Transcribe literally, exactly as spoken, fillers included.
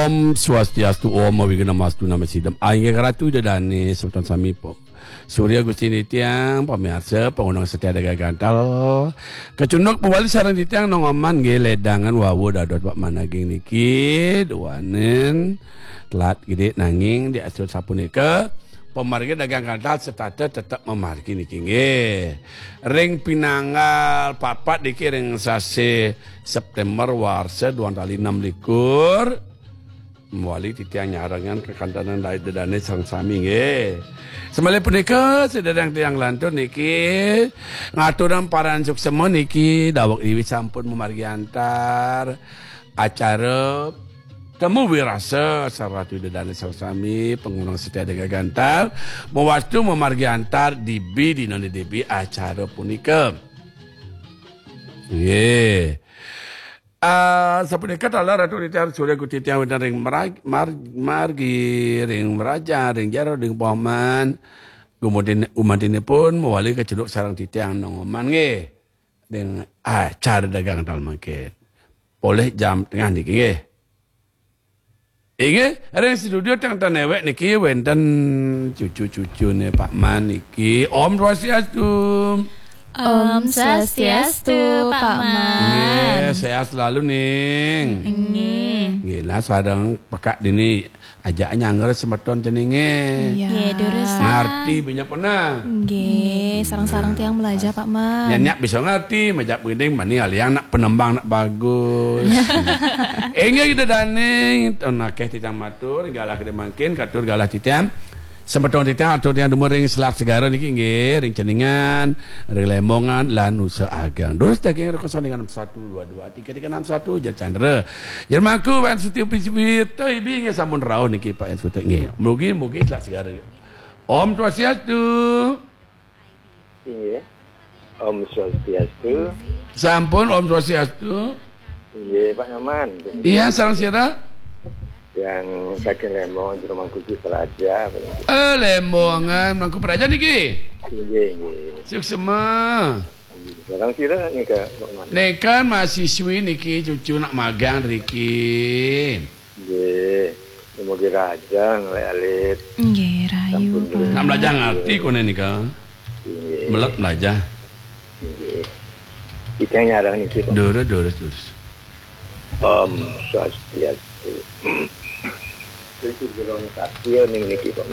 Om Swastiastu, Om Awighnamastu Namo Sidham. Inggih ratu Ida Dane, semeton sami, Pok Surya Gusti titiang, pamiarsa, pangundang setia Dagang Gantal. Kacunduk mawali sareng titiang Nong Oman nggih, ledangan wau dados Pak Man ageng niki, duaning telat gede nanging di astur sapunika. Pamargi Dagang Gantal setata tetep mamargi niki nggih. Ring pinanggal papat niki ring sasih September warsa duang tali enam likur. Mawali titiang nyarengan kekantenan Ida Dane sareng sami nggih. Semalih punika, sedherek tiang lantur niki ngaturang parama suksma niki daweg diwi sampun mamargi antar acara Temu Wirasa sareng Ratu Ida Dane sareng sami, pangundang setia Dagang Gantal, mawastu mamargi antar dibi dina dibi acara punika. Nggih. Ah, sapunika taler Ratu titiang Surya Gusti titiang wenten ring merag-, mar-, margi, ring merajan, ring jero, ring paman. Gumantin-, gumantinipun mawali kacunduk sareng titiang Nong Oman nggih. Ring acara Dagang Gantal mangkin. Polih jam tengah niki nggih. Inggih, ring studio teng tan newek niki wenten cucu-cucune Pak Man niki. Om Swastiastu. Om Swastiastu, Pak Man. Nggih, sehat selalu, Ning. Nggih. Nggih, lah sareng pekak dini ajak nyangger semeton ceninge. Iya. Nggih, durus. Ngarti banyak pernah. Nggih, sareng-sareng tiang belajar, Pak Man. Nyak bisa ngarti, majak begini, mani aliang nak penembang nak bagus. Inggih Ida Dane, ton akeh titiang matur, galah gede mangkin, katur galah titiang. Semeton titiang, atur tiang dumun ring selat segara niki nggih, ring Ceningan, ring Lemongan, lan Nusa Agang. Durus daging rekoso dengan enam satu dua dua tiga tiga enam satu, Jar Chandra. Jar Mangku, Wan Suti Piswirto, ibi nggih sampun rauh niki Pak Wan Suti nggih. Mugi-mugi selat segara. Om Swastiastu. Inggih. Om Swastiastu. Sampun, Om Swastiastu. Inggih, Pak Nyoman. Iya, sareng sira? Yang saking Lembong, Jero Mangku Praja. Eh, Lembongan, Mangku Praja niki? Inggih, inggih. Suksma. Sareng sira nika, Pak Nyoman? Nika mahasiswi niki, cucu nak magang riki. Nggih, mugi rahayu ngalih alit. Nggih, rahayu, sampun Pak. Nak belajar ngerti kone nika. Nggih. Melet belajar. Nggih. Kita nyarang niki, Pak. Durus, durus, durus. Om Swastiastu. Itu durung satia ning niki, Pak.